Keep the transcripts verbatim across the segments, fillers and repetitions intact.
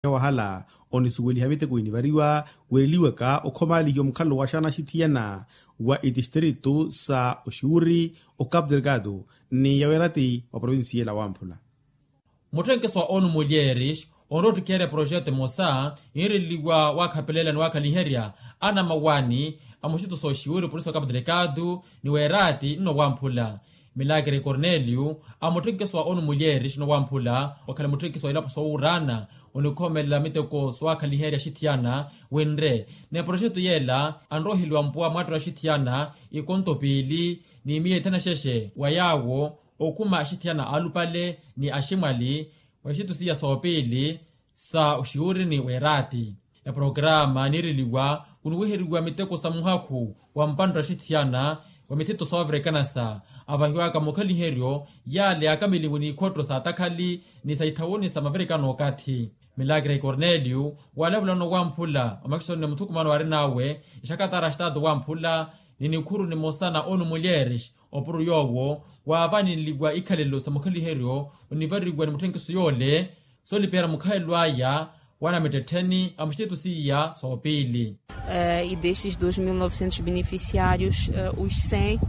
wahala onisuweliha miteko enivariwa weereliwaka okhomaalihiwa mukhalelo wa xana axithiyana wa itistritu sa oxiwuri, ocapu delgado ni yaweerati wa provincia ela wamphula. Mutthenkeso wa onu mulyeris onroottikheerya proxeto emosa yinreliwa waakhapelela ni waakhaliherya anamawani a muxituso oxiwuri polisi okapu delgado ni weeraati nno wamphula. Milakre cornelio a mutthenkeso wa onu mulyeris nno wamphula okhala mutthenkeso wa ilapo sowuuraana onikhomelela miteko sowaakhaliherya axithiyana winre ni proxeto yeela anroheliwa mpuwa mwattira axithiyana ikonto piili ni miya ithanaxexe wa yaawo okhuma axithiyana aalupale ni aximwali wa ixitusiya soopiili sa oxiwuri ni weeraati. Eprograma niireliwa kuniwiheriwa miteko sa muhakhu wa mpantta axithiyana wa mithito sooverekanasa avahiwaka mukhaliheryo yaale yaakameliwe n'ikhotto sa atakhali ni sa ithawuni sa maverekano okathi. Milakre cornelio waalavulano wamphula omakisoni ni muthukumano waarin'awe exakatara axitaatu wamphula ni nikhuru nimosa na onu mulyeres opuro yoowo waavaneliwa ikhalelo sa mukhaliheryo onivariwa ni mutthenkiso yoole soolipihera mukhalelo aya wa anamittettheni a muxiteto seiya soopiili. E destes dois mil novecentos beneficiários os cem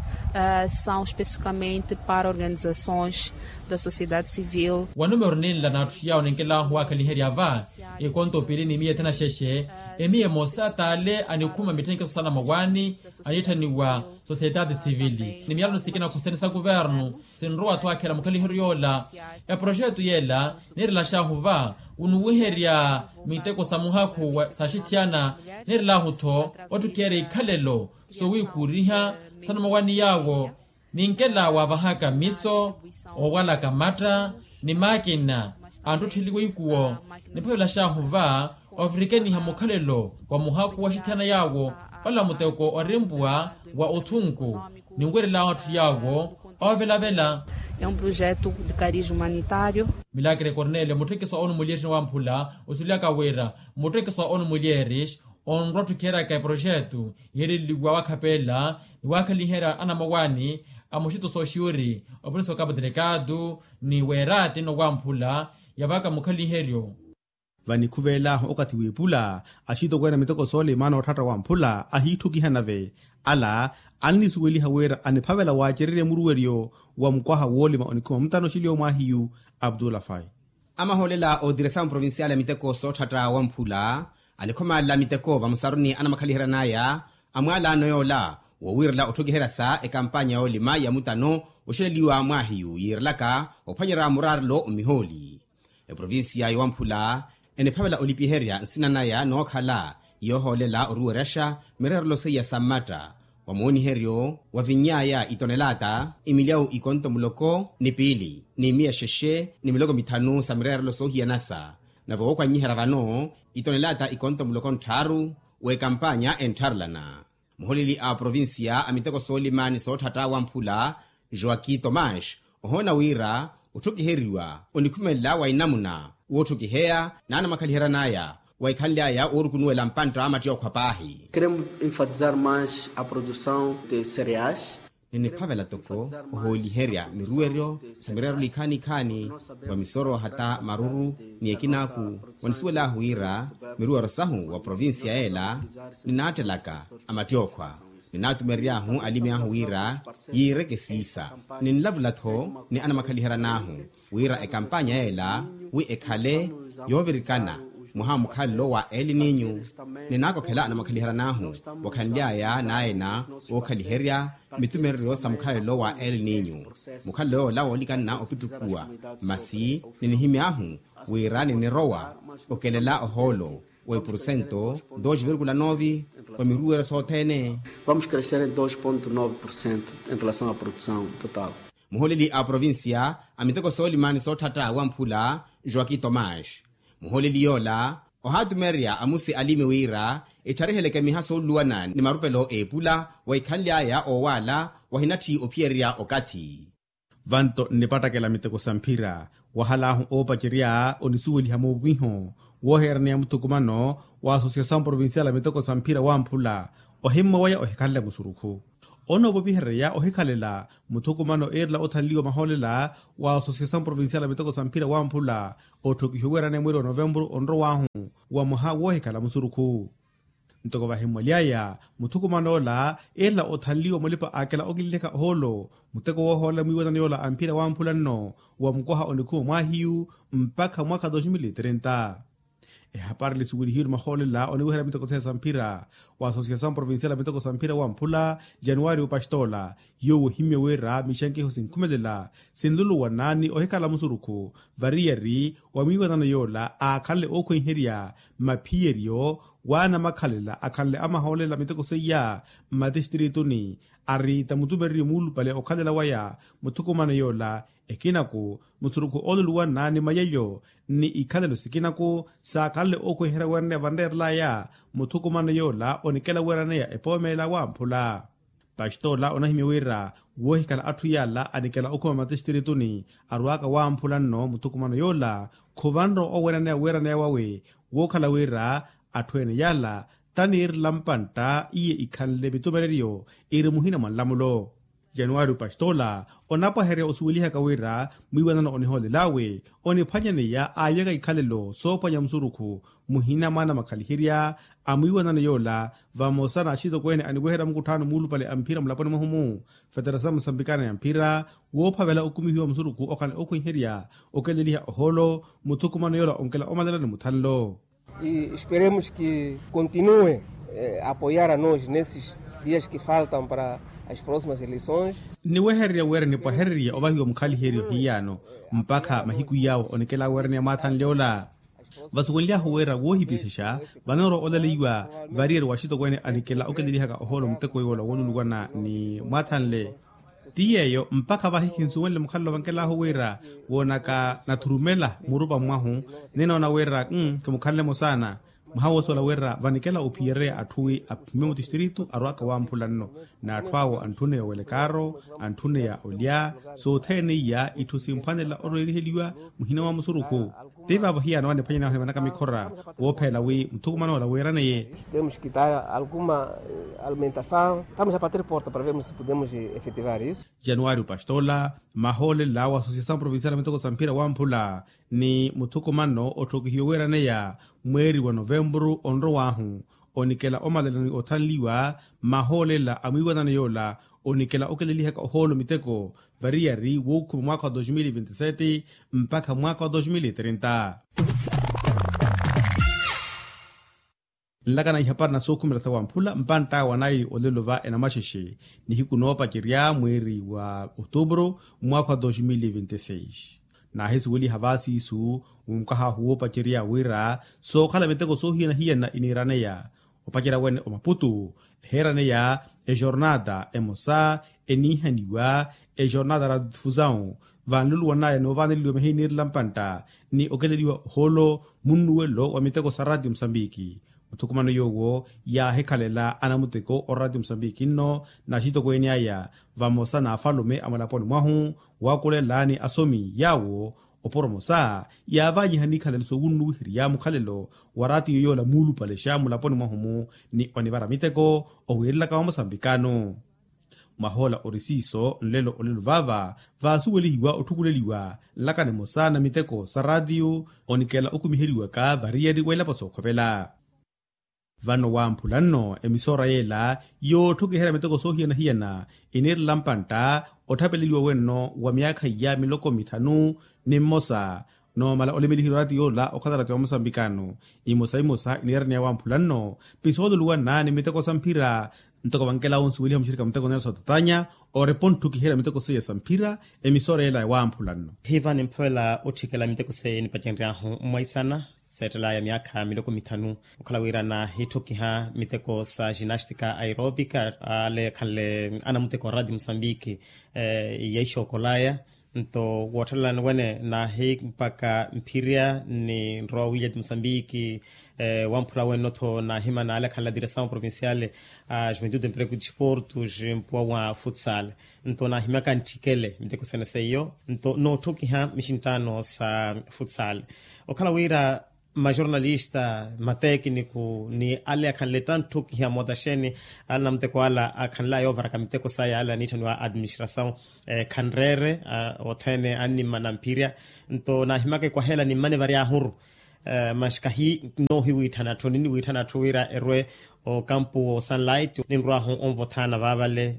são especificamente para organizações da sociedade civil. Wa numero ninla n'atthu yawo ninkelahu waakhaliherya va ikonto piili ni miya ethanaxexe emiya emosa t'ale anikhuma mitthenkiso sa anamawani aniitthaniwa sociedade civil ni miyalano sikina khusene sa kuvernu sinrowa-tho akhela mukhaliheryo yoola. Eproxeto yeela niirelaxahu va kuniwiherya miteko sa muhakhu sa axithiyana niirelahu-tho otthukiherya ikhalelo sowiikhuuriha sa anamawani yaawo ninkela waavahaka miso oowalaka matta ni maakina anttottheleliwa ikuwo. Niphavelaxahu va ovirikeniha mukhalelo wa muhakhu wa axithiyana yaawo ola muteko orimpuwa wa othunku ninwerel'ahu atthu yaawo oovelavela. Milakre cornelio mutthenkiso wa onu mulyeris ni wamphula osulyaka wira mutthenkiso wa onu mulyeris onrotthukiheryaka eproxeto yiireliwa waakhapelela ni waakhaliherya anamawani a muxituso oxiwiri opolisi okapu delgado ni weeraati nno wamphula yavaka mukhaliheryo. Vanikhuvel'ahu okathi w'ipula axitokweene a miteko soolima nootthaatta wamphula ahiitthukiha nave ala annisuweliha wira aniphavela waacererya muruweryo wa mukwaha woolima onikhuma mutano oxiliwa mwaahiyu abdullah fai. Amahoolela ootiresa muprovincial a miteko sootthatta wamphula anikhomaalela miteko vamusaruni anamakhaliheran'aya amwaalaano yoola woowiirela otthukiheryasa ekampanya yoolima ya mutano oxeleliwa mwaahiyu yiirelaka ophwanyerya muraarelo omihooli. Eprovincia ya wamphula eniphavela olipiherya nsina naya nookhala yoohoolela oruweryaxa mireerelo seiya sa mmatta wa mooniheryo wa vinny'aya itonelaata imilyawu ikonto muloko ni piili ni miya xexe ni miloko mithanu sa mireerelo soohiyanasa. Nave wookwanyiherya vano itonelaata ikonto muloko ntthaaru w'ekampanya enttharelana. Muholeli a provincia a miteko soolima ni sootthatta wamphula joaqui tomas ohoona wira otthukiheriwa onikhumelela wa inamuna wootthukiheya n'anamakhaliheran'aya wa ikhanly'aya oorukunuwela mpantta a mattyookhwa paahi. Queremos enfatizar mais a produção de cereais. Niniphavela toko ohooliherya miruweryo sa mireerelo ikhaani-ikhaani wa misoro hata maruru ni ekinaaku. Wanisuwel'ahu wira miruweryo sahu wa provincia yeela ninaattelaka a mattyookhwa ninaatumerery'ahu alimi ahu wira yiireke siisa. Ninlavula-tho ni anamakhaliheran'ahu wira ekampanya yeela wi ekhale yoovirikana mwaha wa mukhalelo wa el ninyu. Ninaakokhela anamakhaliheran'ahu wakhanly'aya n'ayena ookhaliherya mitumereryo sa mukhalelo wa el ninyu. Mukhalelo yoola woolikanna opittukuwa masi ninihimy'ahu wira ninirowa okelela ohoolo wa ipurusento dos virgula nove wa miruweryo sothene. Vamos crescer em dos ponto nove por cento em relação à produção total. Muholeli a provincia a miteko soolima ni sootthatta wamphula joaqui tomas muholeli yoola ohaatumererya amusi alimi wira etthariheleke miha sooluluwana ni marupelo eepula wa ikhanly'aya oowaala wahinatthi ophiyererya okathi. Vanto nnipattakela miteko sa mphira wahal'ahu oopacerya onisuweliha muupiho wooheeraneya muthukumano wa asosiasawu provincial a miteko sa mphira wamphula ohimmwa waya ohikhanle musurukhu. Onoopopihereya ohikhalela muthukumano eerela othanliwa mahoolela wa asosiasawu provincial a miteko sa mphira wamphula otthukihiwe weeraneya mweeri wa novempuru onrow'ahu. wa mwaha woohikhala musurukhu. Ntoko vahimmwaly'aya muthukuman'ola eerela othanliwa mulipa aakela okinlihaka ohoolo muteko woohoolela mwiiwanano yoola a mphira wamphula nno wa mukwaha onikhuma mwaahiyu mpakha mwaakha dos mil e trenta. Ehapari lisuwelihiwe ni mahoolela oniweherya miteko seya sa mphira wa asosiyasawu provinsiyali a miteko sa mphira wamphula januwari opastola, yoowo ohimmye wira mixankiho sinkhumelela sinluluwana ni ohikhala musurukhu variyari wa mwiiwanano yoola aakhanle ookhwenherya mmaphiyeryo w'anamakhalela akhanle amahoolela miteko seiya mmatistrituni. Ari tamutumererye muulupale okhalela waya muthukumano yoola ekinaku musurukhu ooluluwana ni mayalyo ni ikhalelo sikinaku saakhanle ookhwenherya weeraneya vanreerelaya muthukumano yoola onikela weeraneya epoomeela wamphula. Pastola onahimya wira woohikhala atthu yaala anikela okhuma mmatistrituni arwaaka wamphula nno muthukumano yoola khuvanre oweeraneya weeraneya wawe wookhala wira atthu ene yaala taniirela mpantta iye ikhanle mitumereryo iri muhina mwa nlamulo. Januwari opastola onapwaherya osuwelihaka wira mwiiwanano onihoolel'awe oniphwanyaneya aavyaka ikhalelo soophwanya musurukhu muhina mwa anamakhaliherya a mwiiwanano yoola vamosa n'axitokweene aniweherya mukutthaano muulupale a mphira mulaponi mwahu-mu feterasamu musambikana ya mphira woophavela okumihiwa musurukhu okhala ookhwenherya okeleliha ohoolo muthukumano yoola onkela omalelani muthanlo. E esperemos que continue a apoiar a nos nesses dias que faltam para as próximas eleições. Nniwehererya wira nipwahererye ovahiwa mukhaliheryo hiyano mpakha mahiku yawo onikela weeraneya mwaathanle ola. Vasuwenly'ahu wira woohipisexa vanoorowa olaleiwa variyari wa axitokweene anikela okelelihaka ohoolo muteko yoola wooluluwana ni mwaathanle. Ti yeeyo mpakha vahi khinsuwenle mukhalelo vankel'ahu wira woonaka nathurumela murupa mwahu ninoona wira nkimukhanle-mo saana. Mwaha woosola wira vanikela ophiyereya atthu wi aphime mutistritu arwaaka wamphula nno n'atthu awo antthuneya owelekaaro, antthuneya olya sothene iya itthu simphwanela orweeriheliwa muhina wa musurukhu. Ti vaavo hiyano aniphwanyana ahu nivanaka mikhora woopheela wi muthukuman'ola weeraneye. Temos que dar alguma alimentação. Estamos a bater porta para vermos se podemos efetivar isso. Januwari opastola mahoolela wa asosiyasawu provinsiyali a miteko sa mphira wamphula ni muthukumano otthokihiwe weeraneya mweeri wa novempuru onrow'ahu onikela omalela ni othanliwa. Mahoolela a mwiiwanano yoola onikela okelelihaka ohoolo miteko variyari wookhuma mwaakha wa dos mil e vinte sete mpakha mwaakha wa dos mil e trenta. Nlakana ihapari na sookhumela sa wamphula mpantt'awe wa naili olelo va enamaxexe nihiku noopacerya mweeri wa otubru mwaakha wa dos mil e vinte seis. Naahisuweliha vaasiisu mukahaahu woopacerya wira sookhala miteko soohiyana-hiyana iniiraneya opacerya wene omaputu eheeraneya ejornata emosa eniihaniwa ejornata radifusão vanluluwan'aya noovaaneleliwa mihiya iniirela mpantta ni okeleliwa ohoolo munnuwelo wa miteko sa ratio musambiki. Muthukumano yoowo yaahikhalela anamuteko oraatio musambiki nno n'axitokweene aya vamosa n'afalume a mulaponi mwahu waakulela ni asomi yaawo oporomosa yaavanyihani ikhalelo soowunnuwiherya mukhalelo wa raatiyo yoola muulupalexa mulaponi mwahu-mu ni onivara miteko owiirelaka wa musambikano. Mwahoola ori siiso nlelo olelo vaava vaasuwelihiwa otthukuleliwa nlaka nimosa na miteko sa raatiyo onikela okumiheriwaka variyari w'elapo sookhovela. Vano wamphula nno emisoora yeela yootthokiherya miteko soohiyana-hiyana iniirela mpantta otthapeleliwa wenno wa myaakha iya miloko mithanu ni mmosa noomala olemeliherya oraatiyo yoola okhala raatiyo wa musambikano. Imosa imosa iniiraneya wamphula nno pisooluluwana ni miteko sa mphira. Ntoko vankela onsuweliha muxirika muteko nelson tatanya orepa ontthukiherya miteko seiya sa mphira emisoora yeela wamphula nno. Hiva nimphovela otthikela miteko seiya enipacenry'ahu mwaisana seettelaya myaakha miloko mithanu okhala wira naahitthukiha miteko sa ginastika aeropica ale ekhanle anamuteko a radio musambiki. Yaixookolaya nto wootthelela niwene naahimpaka mphirya ni nrowa williat musambiki. Wamphula wene notho naahima naale akhanle a diresawu provinciale a juventude emprego e disportos mpuwa wa futsal. Nto naahimyaka ntthikele miteko sene seiyo nto nootthukiha mixinttaano sa futsal okhala wira majornalista matekiniku ni ale akhanle tantthukiha motaxeni ale anamuteko ala akhanlaya oovaraka miteko saya ale aniitthaniwa administrasawu khanreere othene annimana mphirya. Nto naahimaka ekwaheela nimmane vary'ahuru Mas kahi noohiwitthana atthu niniwitthana atthu wira erwe okampu wo sunlight ninrwahu onvothana vaavale.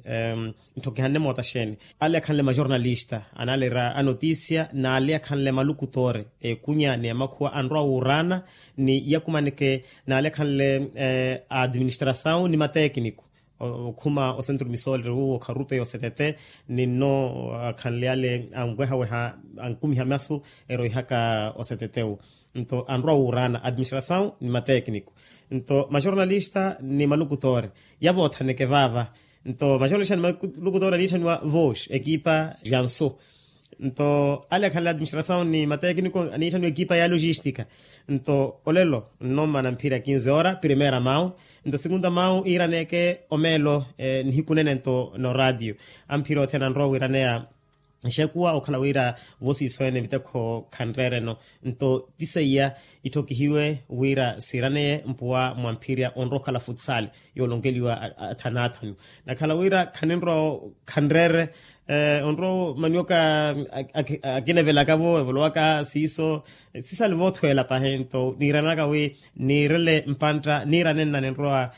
Ntthokihanne moota xeeni? Ale akhanle majornalista anaalera anotisia n'ale akhanle malukutoore ekunya ni amakhuwa anrwa wuuraana ni yakumaneke n'ale akhanle a administrasawu ni matekiniku okhuma osentru misooleri wuwo kharupe yosetete. Ninno akhanle ale anwehaweha ankumiha masu eroihaka osetetewu nto anrwa wuuraana administrasawu ni matekiniku nto majornalista ni malukutoore yavoothaneke vaava. Nto majornalista ni malukutoore aniitthaniwa voos ekipa jansu nto ale akhanle administrasawu ni matekiniku aniitthaniwa ekipa ya logistika. Nto olelo nnommana mphira kinze ora primera mawu nto segunda mawu iiraneeke omeelo nihiku nene nto noraatiyo amphira othene anrowa wiiraneya. Nxekuwa okhala wira vosiiso ene mitekho khanreereno nto ti seiya itthokihiwe wira siiraneye mpuwa mwa mphirya onrowa okhala futsal yoolonkeliwa athanu athanu nakhala wira khaninrowa khanreere onrowa manioka akinevelaka-vo evolowaka siiso sisali voothweela pahi nto niiranaka wi niirele mpantta niirane nna ninrowa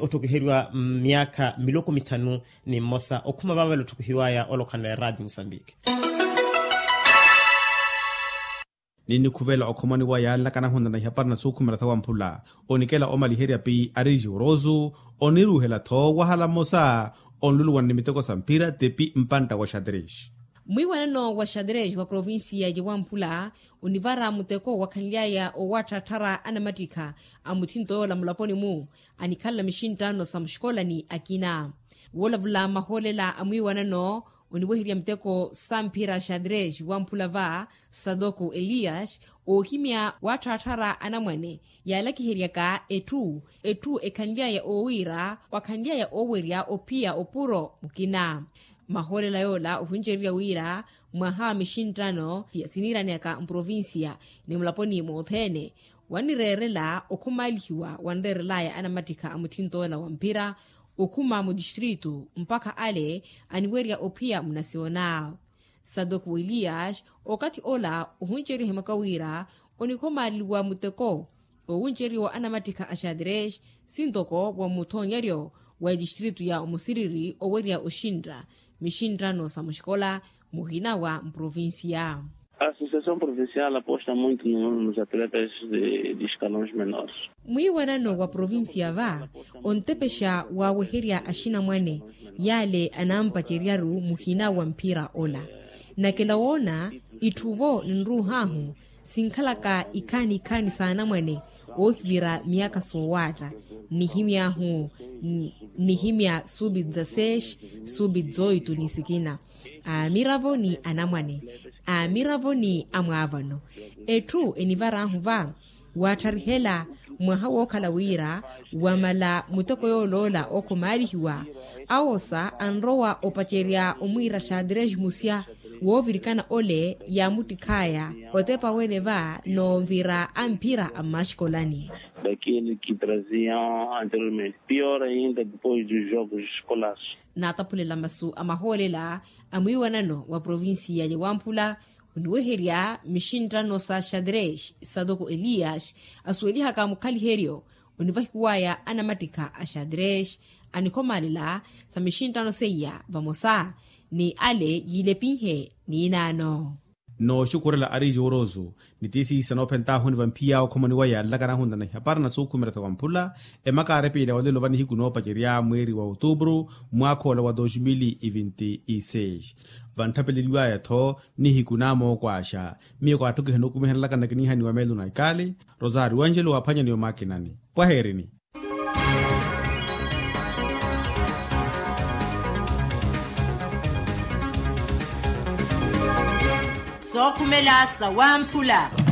otthokiheriwa myaakha miloko mithanu ni mmosa okhuma vaavale otthokihiwaya olokhanle raati musambiki. Ninnikhuvela okhomwaniwa yaallakanahunla na ihapari na suukhumela tha wamphula onikela omaliherya pi ariiji orosu oniruuhela-tho wahala mmosa onluluwana ni miteko sa mphira tepi mpantta wa xatrix. Mwiiwanano wa xatrix wa provincia ya wamphula onivara muteko wakhanly'aya owatthaattharya anamattikha a muthinto yoola mulaponi-mu anikhalela mixinttano sa muxikolani akina. Woolavula mahoolela a mwiiwanano oniweherya miteko sa mphira xatrix wamphula va satoko elias oohimya watthaattharya anamwane yaalakiheryaka etthu etthu ekhanly'aya oowiira wakhanly'aya oowerya ophiya opuro mukina. Mahoolela yoola ohunceriwa wira mwaha wa mixinttano siniiraneyaka mprovincia ni mulaponi mothene wannireerela okhumaalihiwa wanreerelaya anamattikha a muthinto ola wa mphira okhuma mutistritu mpakha ale aniwerya ophiya munasiona. Satoko elias okathi ola ohunceriwa ohimaka wira onikhomaaliwa muteko owunceriwa anamattikha a xatrix sintoko wa muthoonyeryo wa etistritu ya omusiriri owerya oxintta mixinttano sa muxikola muhina wa mprovincia. Associação provincial aposta muito nos atletas de escalões menores. Mwiiwanano wa provincia va ontepexa waaweherya axinamwane yaale anampaceryaru muhina wa mphira ola. Nakela woona itthu-vo ninruuhaahu sinkhalaka ikhaani ikhaani s'anamwane oohivira myaakha soowaatta nihimy'ahu nihimya subi dzaseis subi dzoitu ni sikina aamiravo ni anamwane aamiravo ni amwaavano. Etthu enivar'ahu va waattharikhela mwaha wookhala wira wamala muteko yooloola okhomaalihiwa awosa anrowa opacerya omwiira xatrix musya woovirikana ole yaamuttikh'aya otepa wene va noovira a mphira a mmaxikolani. Daquele que traziam anteriormente pior ainda depois dos jogos escolares. Naataphulela masu a mahoolela a mwiiwanano wa provincia ya wamphula oniweherya mixinttano sa xatrix satoko elias asuwelihaka mukhaliheryo onivahiwaya anamattikha a xatrix anikhomaalela sa mixinttano seiya vamosa ni ale yiilepinhe niinaano. Nooxukhurela ariiji worosu ni tiisiisa noophentaahu ni vamphiya okhomaniwa yaallakanahunla na ihapari na suukhumela tha wamphula emakaari piila olelo va nihiku noopacerya mweeri wa otupuru mwaakha ola wa dos mil e vinti e seis. Vanttapeleliwaya-tho nihiku naamookwaxa miyo kaatthokiha nookumihanelaka nnakinihaniwa meelo na ikali rosario angelo waaphwanyaniwe maakinani pwaheerini. Sookhumela sa wamphula.